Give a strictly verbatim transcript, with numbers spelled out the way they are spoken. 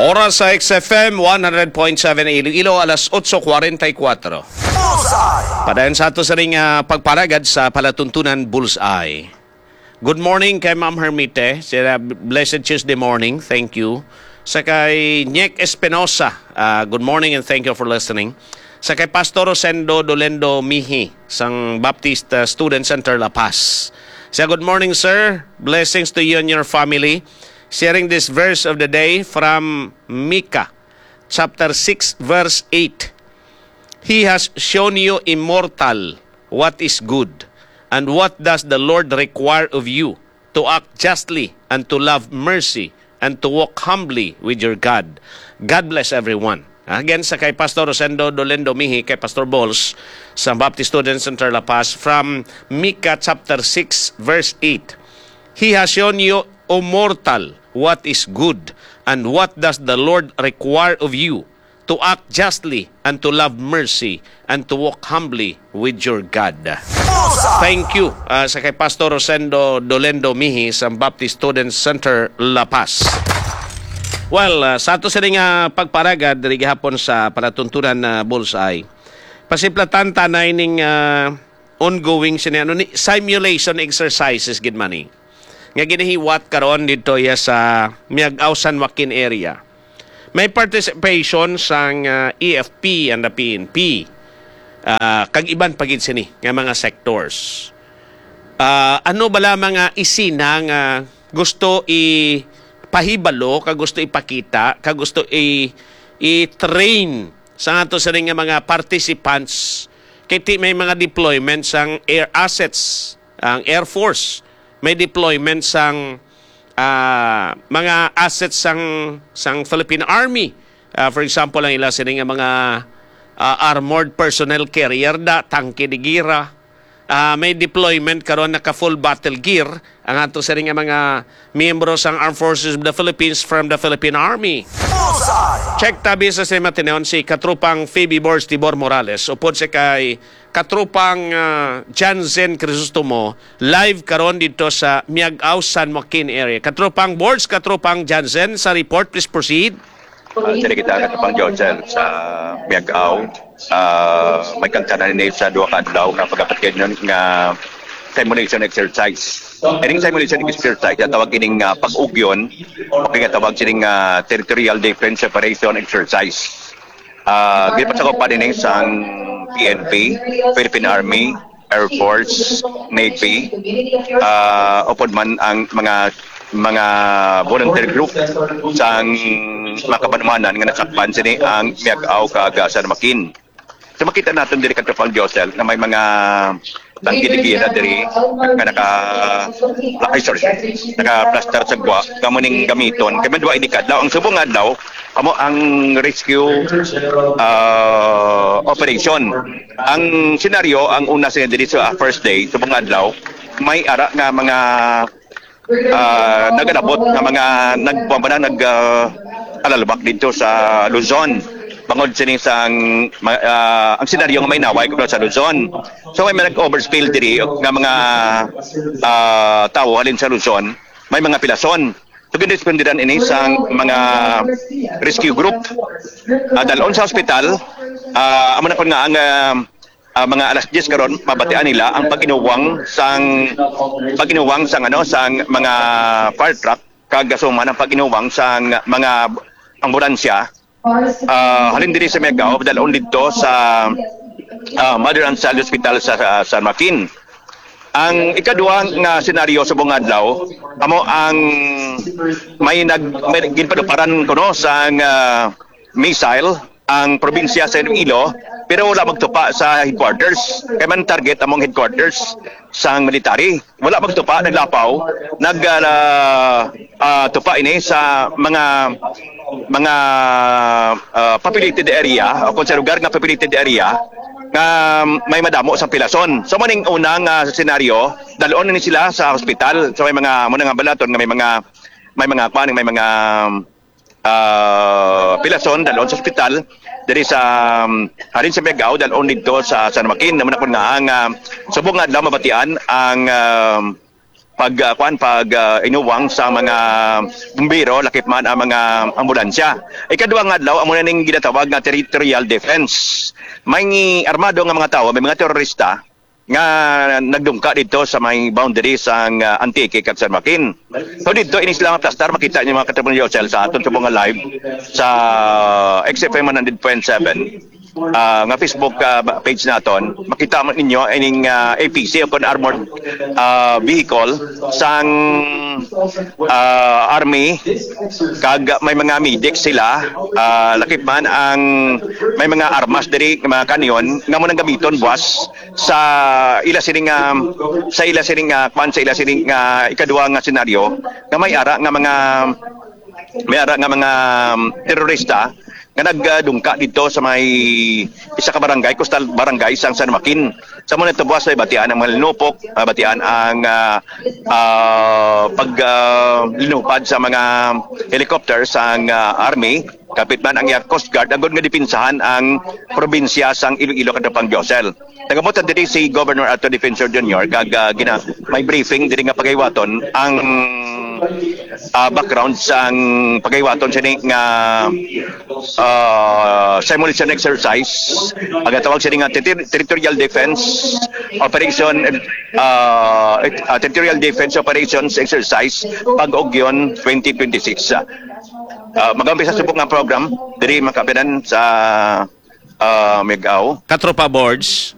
Oras sa X F M one hundred point seven Iloilo, alas otso cuarenta y cuatro. Bullseye! Padayon sa ato sa ring, ah, pagparagad sa palatuntunan Bullseye. Good morning kay Ma'am Hermite. Sila, blessed Tuesday morning. Thank you. Sa kay Nick Espinosa, ah, good morning and thank you for listening. Sa kay Pastor Rosendo Dolendo Mihi sang Baptist, ah, Student Center La Paz. Siya, "Good morning, sir. Blessings to you and your family. Sharing this verse of the day from Micah chapter six, verse eight. He has shown you, immortal, what is good, and what does the Lord require of you, to act justly, and to love mercy, and to walk humbly with your God." God bless everyone. Again, sa kay Pastor Rosendo Dolendo Mihi, kay Pastor Balls, sa Baptist Student Center La Paz, from Micah chapter six, verse eight. "He has shown you, O mortal, what is good, and what does the Lord require of you, to act justly, and to love mercy, and to walk humbly with your God." Thank you, ah, sa kay Pastor Rosendo Dolendo Mihi sa Baptist Student Center, La Paz. Well, ah, sa ato sini nga pagparagad diri gihapon sa palatuntunan na Bullseye, pasimplatan ta na ining, ah, ongoing sini, ano ni, simulation exercises gid man ni nga ginahiwat karon dito ya sa Miag-ao, San Joaquin area. May participation sang, ah, A F P and the P N P, ah, kag iban pa gid sini nga mga sectors. Ah, ano bala mga isina nga gusto ipahibalo, ka gusto ipakita, ka gusto i-, i-train sa ato sini nga mga participants? Kay ti may mga deployment sang air assets ang Air Force, may deployment sang, ah, mga assets sang, sang Philippine Army. Ah, for example, ang ila sini nga mga, ah, armored personnel carrier da, tangke de guerra. Ah, may deployment karon, naka full battle gear ang ato sini nga mga miyembro sang Armed Forces of the Philippines from the Philippine Army. Bullseye! Check tabi sa sini matinon si Katropang Phoebe Borge Tibor Morales, upod sa kay Katropang, ah, Jansen Crisostomo, live karon dito sa Miag-ao, San Joaquin area. Katropang Borge, Katropang Jansen, sa report, please proceed. Ah, diri kita, Katropang Jansen, sa Miag-ao. Ah, may kagtanan ini sa duha ka adlaw nga pagapatid nun nga simulation exercise. Ining simulation exercise, ang tawag ining, ah, pag-ugyon, o kaya tawag sining, ah, territorial defense operation exercise. Ah, ginpasakupan ini sang P N P, Philippine Army, Air Force, Navy, ah, upod man ang mga, mga volunteer group sang mga kabanuanan nga nasakpan sini ang Miag-ao kag San Joaquin. So, makita naton diri, Katropang Josel, nga may mga tangke de guerra diri nga naka, ay, sorry, naka-plaster sa gwa, kamo ning gamiton. Kay madwa ini kadlaw, ang subong nga adlaw, amo ang rescue, ah, operation. Ang senaryo, ang una sa diri sa first day, subong nga adlaw, may ara nga mga, ah, nagalabot nga mga nag-, kuwan ba na, nag, ah, alalabak dito sa Luzon. Bangod sini sang, ma-, ah, ang senaryo nga may naway kuno sa Luzon. So, may mga nag-overspill diri nga mga, ah, tawo halin sa Luzon, may mga pilason. So, ginrespondihan ini sang mga rescue group. Ah, dalon sa ospital, ah, amo na kun nga ang, ah, ah, mga alas diyes karon, mabatian nila ang pag-inuwang sang, pag-inuwang sang, ano, sang mga fire truck, kag gasuman ang pag-inuwang sang mga ambulansya, ah, halin diri sa Miag-ao, dalon didto sa, ah, Mother and Child Hospital sa, sa San Joaquin. Ang ikadua nga senaryo subong nga adlaw, amo ang may nag-, may ginpaduparan kuno sang, ah, missile ang probinsya sa Iloilo, pero wala magtupa sa headquarters. Kay man target among headquarters sang military. Wala magtupa, naglapaw, nag, ah, ah, tupa ini sa mga, mga, ah, populated area, o kung sa lugar nga populated area nga may madamo sa pilason. So, maning unang, ah, senaryo, dalon ni sila sa hospital. So, may mga, muna nga balaton nga may mga, may mga, kuwan, may mga, ah, pilason, dalon sa ospital, diri sa, um, halin sa Miag-ao, dalon didto sa San Joaquin. Naman ako nga ang, ah, subong nga adlaw mabatian ang, ah, pag ah, kuan pag ah, inuwang sa mga bumbero, lakip man ang mga ambulansya. Ikaduha nga adlaw amo na ning ginatawag nga territorial defense. May armado nga mga tawo, may mga terorista nga nagdungka dito sa may boundary sang ah, Antique kag San Joaquin. So dito ini sila nga plastar, makita niyo mga katropa ni Josel sa aton subong nga live sa X F M one hundred point seven ah, nga Facebook ah, ba- page naton. Makita mo ninyo ining ah, A P C o kon armored ah, vehicle sang ah, army, kag may mga medics sila, ah, lakip man ang may mga armas diri, mga kanyon nga mo nang gamiton buwas sa ila sining ah, sa ila sining ah, kwan, sa ila sining ah, ikaduha nga senaryo nga may ara nga mga may ara nga mga terorista nga nagdungka dito sa may isa ka barangay, coastal barangay sang San Joaquin. Sa muna tubuas ay batian ang mga linupok, ah, batian ang ah, ah, pag ah, linupad sa mga helicopter sang ah, army, kapit man ang iya Coast Guard, agod nga dipinsahan ang probinsya sang Iloilo, Katropang Josel. Nagabutan diri si Governor Arthur Defensor Junior kag ah, gina may briefing diri nga pagahiwaton ang ah, background sang pagahiwaton sini nga ah, simulation exercise. Ang tawag sini nga ter- territorial defense operation ah, et- ah, territorial defense operations exercise pag-ugyon twenty twenty-six. Ah, mag-umpisa subok nga program diri makapinan sa ah, Miag-aw. Katropa Boards,